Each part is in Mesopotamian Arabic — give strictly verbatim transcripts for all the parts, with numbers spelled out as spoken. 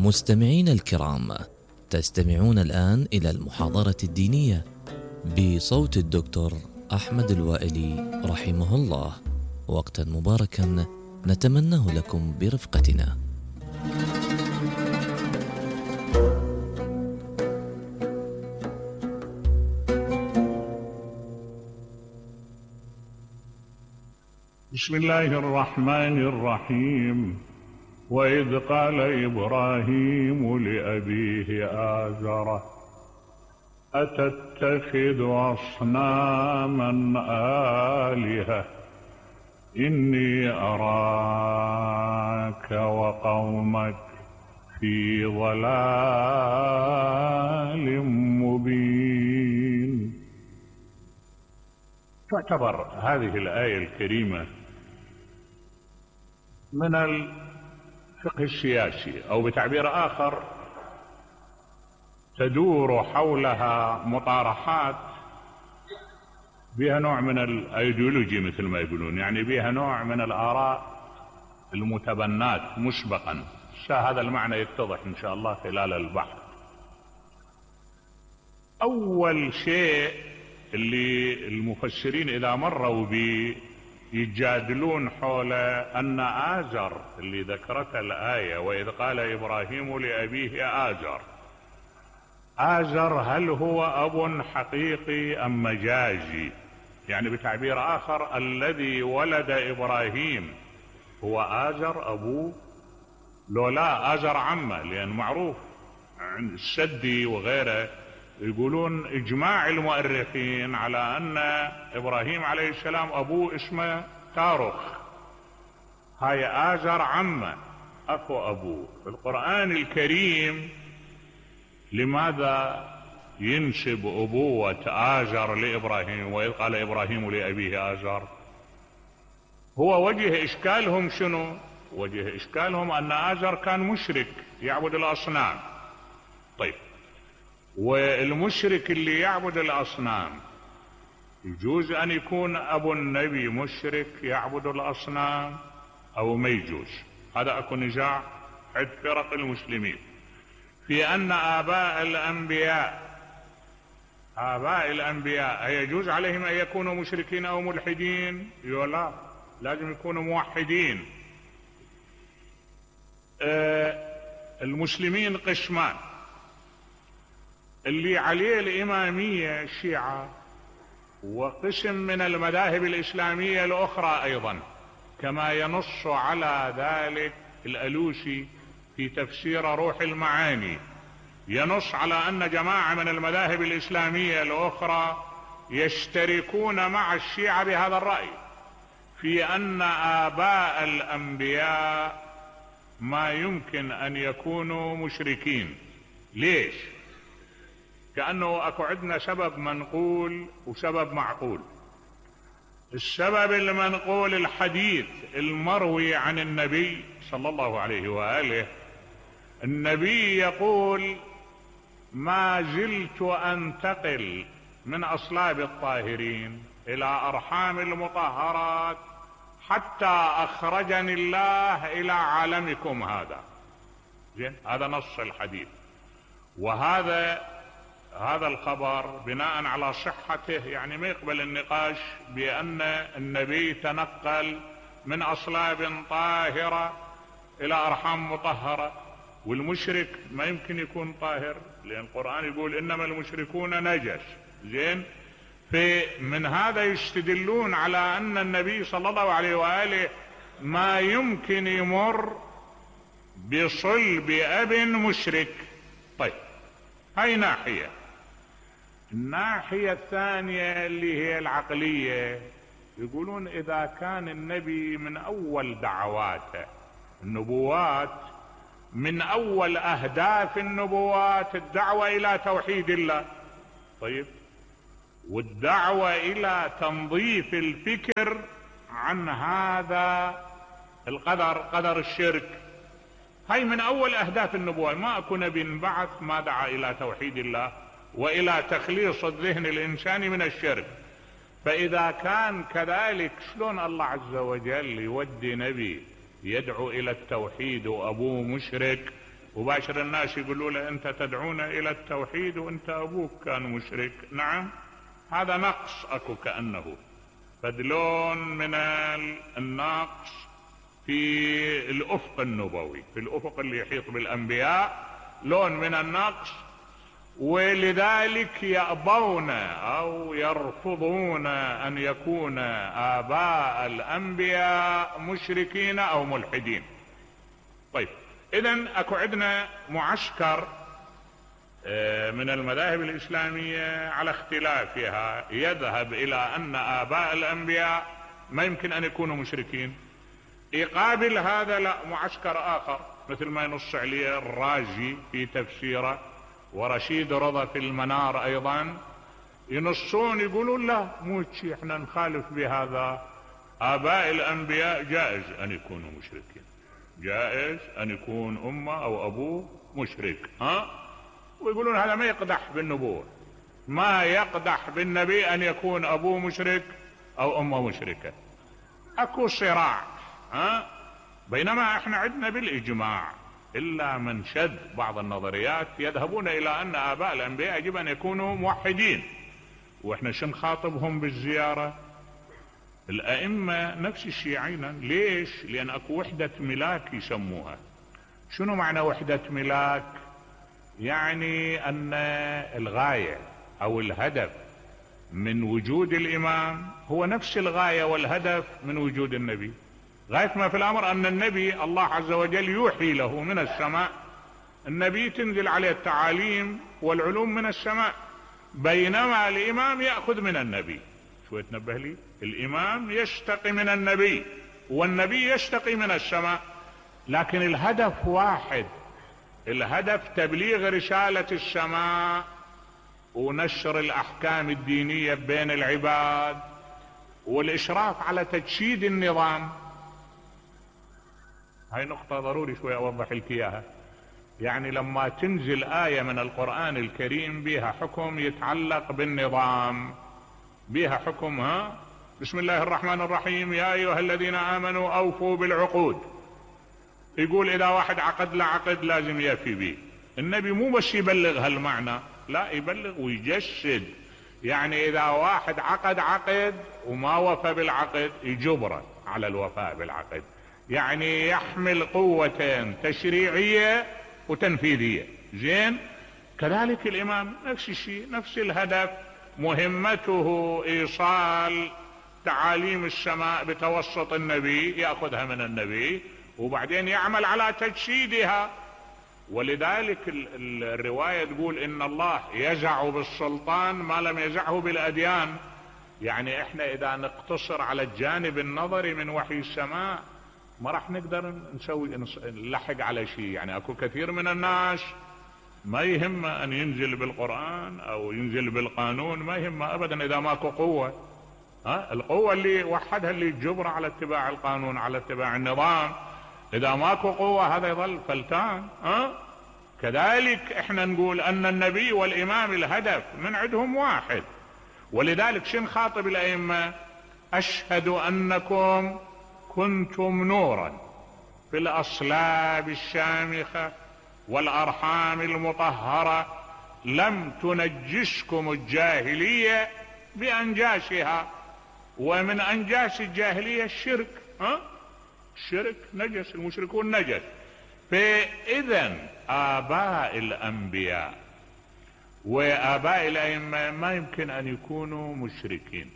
مستمعين الكرام، تستمعون الآن إلى المحاضرة الدينية بصوت الدكتور أحمد الوائلي رحمه الله. وقتا مباركا نتمناه لكم برفقتنا. بسم الله الرحمن الرحيم. وإذ قال إبراهيم لأبيه آزر أتتخذ أصناما آلهة إني أراك وقومك في ضلال مبين. تعتبر هذه الآية الكريمة من الفقه السياسي، أو بتعبير آخر تدور حولها مطارحات بها نوع من الايديولوجي مثل ما يقولون، يعني بها نوع من الآراء المتبنات مسبقا. هذا المعنى يتضح إن شاء الله خلال البحث. أول شيء اللي المفسرين إذا مروا به يجادلون حول أن آزر اللي ذكرت الآية وإذ قال إبراهيم لأبيه آزر، آزر هل هو أب حقيقي أم مجازي؟ يعني بتعبير آخر الذي ولد إبراهيم هو آزر أبوه؟ لو لا آزر عمه، لأن معروف عند السدي وغيره يقولون إجماع المؤرخين على أن إبراهيم عليه السلام أبوه اسمه تارخ، هاي آزر عمه أخو أبوه. في القرآن الكريم لماذا ينسب أبوة آزر لإبراهيم وإذ قال إبراهيم لأبيه آزر؟ هو وجه إشكالهم شنو؟ وجه إشكالهم أن آزر كان مشرك يعبد الأصنام. طيب، والمشرك اللي يعبد الأصنام يجوز أن يكون أبو النبي مشرك يعبد الأصنام أو ما يجوز؟ هذا أكو نزاع عند فرق المسلمين في أن آباء الأنبياء آباء الأنبياء يجوز عليهم أن يكونوا مشركين أو ملحدين؟ لا، لازم يكونوا موحدين. آه المسلمين قسمان، اللي عليه الإمامية الشيعة، وقسم من المذاهب الإسلامية الأخرى أيضا، كما ينص على ذلك الألوسي في تفسير روح المعاني، ينص على أن جماعة من المذاهب الإسلامية الأخرى يشتركون مع الشيعة بهذا الرأي في أن آباء الأنبياء ما يمكن أن يكونوا مشركين. ليش؟ كأنه أكو عندنا سبب منقول وسبب معقول. السبب المنقول الحديث المروي عن النبي صلى الله عليه وآله، النبي يقول: ما زلت أنتقل من أصلاب الطاهرين إلى أرحام المطهرات حتى أخرجني الله إلى عالمكم هذا. زين، هذا نص الحديث. وهذا هذا الخبر بناء على صحته يعني ما يقبل النقاش بأن النبي تنقل من أصلاب طاهرة إلى أرحام مطهرة، والمشرك ما يمكن يكون طاهر، لأن القرآن يقول إنما المشركون نجس. زين، فمن هذا يستدلون على أن النبي صلى الله عليه وآله ما يمكن يمر بصلب أب مشرك. طيب، هاي ناحية. الناحية الثانية اللي هي العقلية، يقولون إذا كان النبي من أول دعواته، النبوات من أول أهداف النبوات الدعوة إلى توحيد الله، طيب، والدعوة إلى تنظيف الفكر عن هذا القدر، قدر الشرك، هاي من أول أهداف النبوة. ما أكو نبي بعث ما دعا إلى توحيد الله وإلى تخليص الذهن الإنساني من الشرك. فإذا كان كذلك، شلون الله عز وجل يودي نبي يدعو إلى التوحيد وأبوه مشرك وباشر الناس يقولوا له انت تدعونا الى التوحيد وانت ابوك كان مشرك. نعم، هذا نقص اكو كأنه، فدلون من النقص في الافق النبوي، في الافق اللي يحيط بالانبياء لون من النقص، ولذلك يأبون او يرفضون ان يكون اباء الانبياء مشركين او ملحدين. طيب اذن اكو عندنا معسكر من المذاهب الاسلامية على اختلافها يذهب الى ان اباء الانبياء ما يمكن ان يكونوا مشركين. يقابل هذا لا معسكر اخر مثل ما ينص عليه الرازي في تفسيره ورشيد رضا في المنار ايضا، ينصون يقولون لا مو شيء، احنا نخالف بهذا، اباء الانبياء جائز ان يكونوا مشركين، جائز ان يكون امه او ابوه مشرك. ها، ويقولون هذا ما يقدح بالنبوة، ما يقدح بالنبي ان يكون ابوه مشرك او امه مشركة. اكو صراع. ها، بينما احنا عندنا بالاجماع الا من شد بعض النظريات يذهبون الى ان اباء الانبياء يجب ان يكونوا موحدين، واحنا شو نخاطبهم بالزيارة؟ الائمة نفس الشيء عينا. ليش؟ لان اكو وحدة ملاك يسموها. شنو معنى وحدة ملاك؟ يعني ان الغاية او الهدف من وجود الامام هو نفس الغاية والهدف من وجود النبي. غاية ما في الامر ان النبي الله عز وجل يوحي له من السماء، النبي تنزل عليه التعاليم والعلوم من السماء، بينما الامام يأخذ من النبي. شو تنبه لي؟ الامام يشتقي من النبي والنبي يشتقي من السماء، لكن الهدف واحد، الهدف تبليغ رسالة السماء ونشر الاحكام الدينية بين العباد والاشراف على تجسيد النظام. هاي نقطة ضروري شوي اوضح لك اياها. يعني لما تنزل آية من القرآن الكريم بها حكم يتعلق بالنظام، بها حكم، ها، بسم الله الرحمن الرحيم يا ايها الذين امنوا اوفوا بالعقود، يقول اذا واحد عقد له عقد لازم يفي به. النبي مو بس يبلغ هالمعنى، لا، يبلغ ويجسد. يعني اذا واحد عقد عقد وما وفى بالعقد يجبره على الوفاء بالعقد، يعني يحمل قوتين تشريعية وتنفيذية. زين، كذلك الامام نفس الشيء، نفس الهدف، مهمته ايصال تعاليم السماء بتوسط النبي، يأخذها من النبي وبعدين يعمل على تجسيدها. ولذلك الرواية تقول ان الله يزع بالسلطان ما لم يزعه بالاديان. يعني احنا اذا نقتصر على الجانب النظري من وحي السماء ما راح نقدر نسوي نلحق على شيء. يعني اكو كثير من الناس ما يهمه ان ينزل بالقرآن او ينزل بالقانون، ما يهمه ابدا اذا ماكو قوة. ها، القوة اللي وحدها اللي تجبر على اتباع القانون، على اتباع النظام. اذا ماكو قوة هذا يظل فلتان. ها، كذلك احنا نقول ان النبي والامام الهدف من عندهم واحد. ولذلك شن خاطب الائمة؟ اشهد انكم كنتم نورا في الاصلاب الشامخة والارحام المطهرة، لم تنجسكم الجاهلية بانجاسها. ومن انجاس الجاهلية الشرك. ها، الشرك نجس، المشركون نجس. فاذا اباء الانبياء واباء الائمة ما يمكن ان يكونوا مشركين.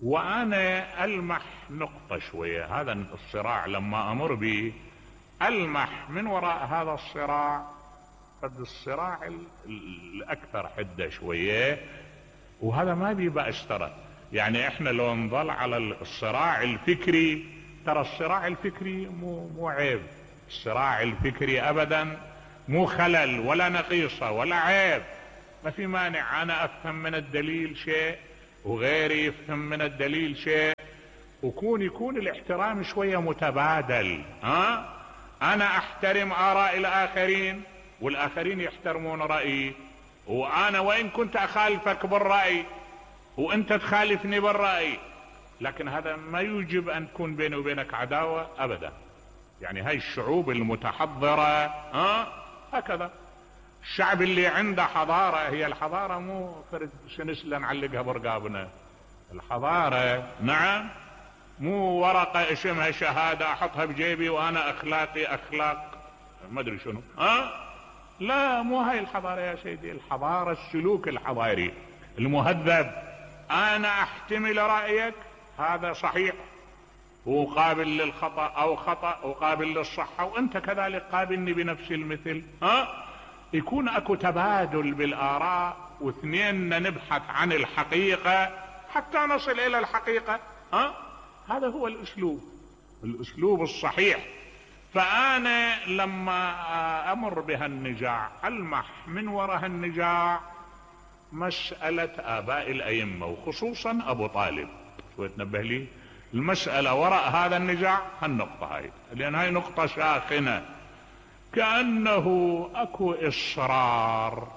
وانا المح نقطة شوية، هذا الصراع لما امر به المح من وراء هذا الصراع قد الصراع الاكثر حدة شوية، وهذا ما بي بأس ترى. يعني احنا لو نظل على الصراع الفكري، ترى الصراع الفكري مو مو عيب، الصراع الفكري ابدا مو خلل ولا نقيصة ولا عيب، ما في مانع. انا افهم من الدليل شيء وغيري يفهم من الدليل شيء، وكون يكون الاحترام شوية متبادل. ها، انا احترم اراء الاخرين والاخرين يحترمون رأيي، وانا وان كنت اخالفك بالرأي وانت تخالفني بالرأي، لكن هذا ما يوجب ان تكون بيني وبينك عداوة ابدا. يعني هاي الشعوب المتحضرة ها هكذا. الشعب اللي عنده حضارة، هي الحضارة مو فرد سنسلة نعلقها برقابنا، الحضارة نعم مو ورقة اسمها شهادة احطها بجيبي وانا اخلاقي اخلاق ما ادري شنو ها. لا مو هاي الحضارة يا سيدي، الحضارة السلوك الحضاري المهذب. انا احتمل رأيك هذا صحيح وقابل للخطأ او خطأ وقابل للصحة، وانت كذلك قابلني بنفس المثل ها. يكون اكو تبادل بالاراء، واثنين نبحث عن الحقيقة حتى نصل الى الحقيقة ها. هذا هو الاسلوب، الاسلوب الصحيح. فانا لما امر بهالنزاع المح من وراء هالنزاع مسألة اباء الائمة وخصوصا ابو طالب. شوي تنبه لي المسألة وراء هذا النزاع هالنقطة هاي، لان هاي نقطة ساخنة. كأنه اكو اصرار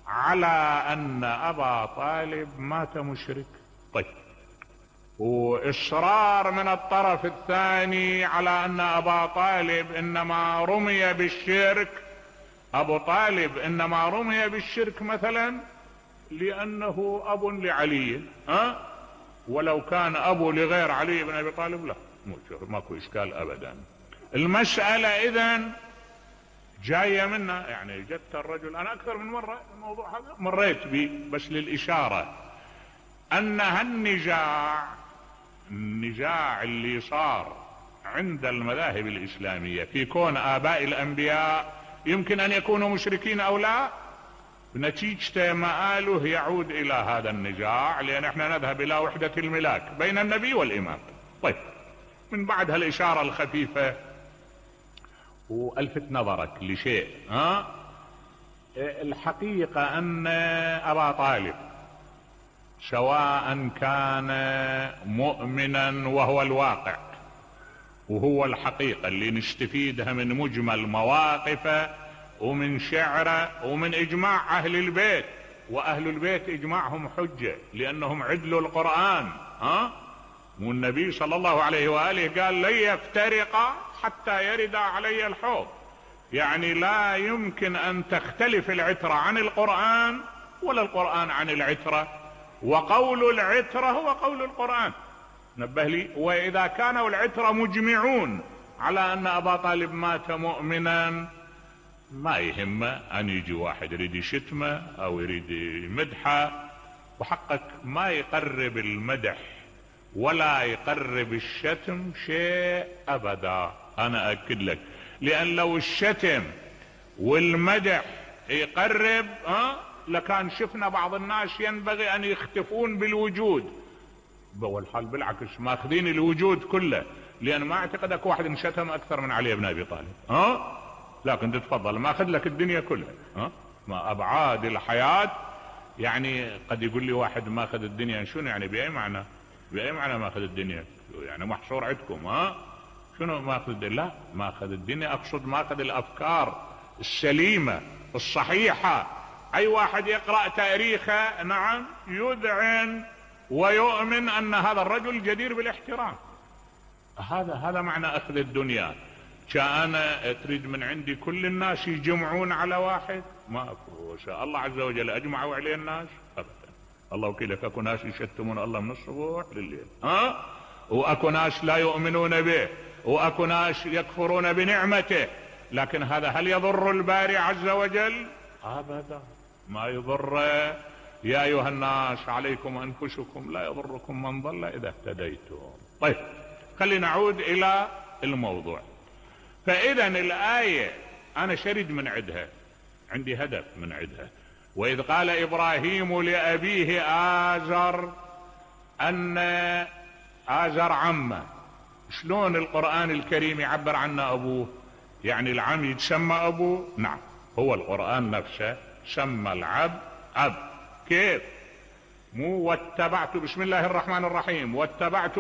على ان ابا طالب مات مشرك. طيب، واصرار من الطرف الثاني على ان ابا طالب انما رمي بالشرك، ابو طالب انما رمي بالشرك مثلا لانه اب لعلي ها، ولو كان ابو لغير علي بن ابي طالب لا ماكو اشكال ابدا. المسألة اذن جاية منا، يعني جدت الرجل انا اكثر من مرة الموضوع هذا مريت به بس للاشارة ان هالنزاع النزاع اللي صار عند المذاهب الاسلامية في كون اباء الانبياء يمكن ان يكونوا مشركين او لا، نتيجة مآله يعود الى هذا النزاع، لان احنا نذهب الى وحدة الملاك بين النبي والامام. طيب، من بعد هالاشارة الخفيفة والفت نظرك لشيء ها. الحقيقة ان ابا طالب سواء كان مؤمنا وهو الواقع وهو الحقيقة اللي نستفيدها من مجمل مواقفه ومن شعره ومن اجماع اهل البيت، واهل البيت اجماعهم حجة لانهم عدلوا القرآن ها. والنبي صلى الله عليه وآله قال لن يفترقا حتى يرد علي الحوض، يعني لا يمكن ان تختلف العترة عن القرآن ولا القرآن عن العترة، وقول العترة هو قول القرآن. نبه لي، واذا كانوا العترة مجمعون على ان ابا طالب مات مؤمنا ما يهمه ان يجي واحد يريد يشتمه او يريد يمدحه، وحقك ما يقرب المدح ولا يقرب الشتم شيء ابدا. انا اكد لك، لان لو الشتم والمدح يقرب ها لكان شفنا بعض الناس ينبغي ان يختفون بالوجود، والحال بالعكس ماخذين الوجود كله، لان ما اعتقد اكو واحد انشتم اكثر من علي بن ابي طالب ها. لكن تتفضل ماخذ لك الدنيا كلها ها، ما ابعاد الحياة. يعني قد يقول لي واحد ماخذ الدنيا شنو يعني، باي معنى باي معنى ماخذ الدنيا يعني محصور عندكم ها، شنو ماخذ الدنيا؟ لا ماخذ الدنيا اقصد ماخذ الافكار السليمة الصحيحة. اي واحد يقرأ تاريخه نعم يذعن ويؤمن ان هذا الرجل جدير بالاحترام. هذا هذا معنى اخذ الدنيا. كان تريد من عندي كل الناس يجمعون على واحد؟ ما اكو. شاء الله عز وجل اجمعوا عليه الناس ابدا. الله وكيلك اكو ناس يشتمون الله من الصبح لليل ها، واكو ناس لا يؤمنون به، واكو ناس يكفرون بنعمته، لكن هذا هل يضر الباري عز وجل؟ ابدا ما يضر. يا ايها الناس عليكم انفسكم لا يضركم من ضل اذا اهتديتم. طيب خلينا نعود الى الموضوع. فاذا الاية انا شرد من عدها، عندي هدف من عدها. واذ قال ابراهيم لابيه آزر، ان آزر عمه. شلون القرآن الكريم يعبر عنه ابوه؟ يعني العم يتسمى ابوه؟ نعم، هو القرآن نفسه سمى العبد عبد. كيف؟ مو واتبعت بسم الله الرحمن الرحيم واتبعت